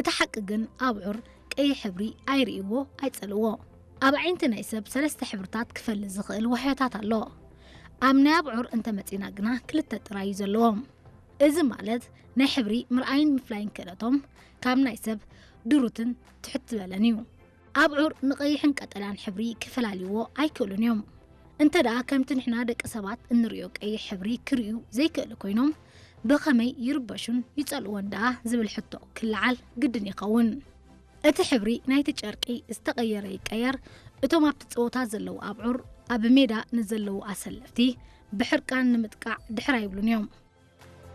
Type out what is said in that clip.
እቲ ሓቂ ግን ኣብዑር ቀይሕ ሕብሪ ኣይርእይዎ ኣይጸልዎ። ኣብ ዓይንቲ ናይ ሰብ ሰለስተ ሕብርታት ክፈሊ ዝኽእል ዋህዮታት ኣሎ። ኣብ ናይ ኣብዑር እንተመጺና ግና ክልተ ጥራይ እዩ ዘለዎም። እዚ ማለት ናይ ሕብሪ ምርኣይን ምፍላይን ክእለቶም ካብ ናይ ሰብ ድሩትን ትሕት ዝበለን እዩ። ኣብዑር ንቐይሕን ቀጠልያን ሕብሪ ክፈላልይዎ ኣይክእሉን እዮም። እንተ ደኣ ከምቲ ንሕና ደቂ ሰባት እንርእዮ ቀይሕ ሕብሪ ክርእዩ ዘይክእሉ ኮይኖም ብኸመይ ይርበሹን ይጸልእዎን ደኣ ዝብል ሕቶ ክለዓል ግድን ይኸውን። እቲ ሕብሪ ናይቲ ጨርቂ ዝተቐየረ ይቀየር፣ እቶም ኣብቲ ጸወታ ዘለዉ ኣብዑር ኣብ ሜዳ ንዘለዉ ኣሰለፍቲ ብሕርቃን ንምጥቃዕ ድሕር ኣይብሉን እዮም።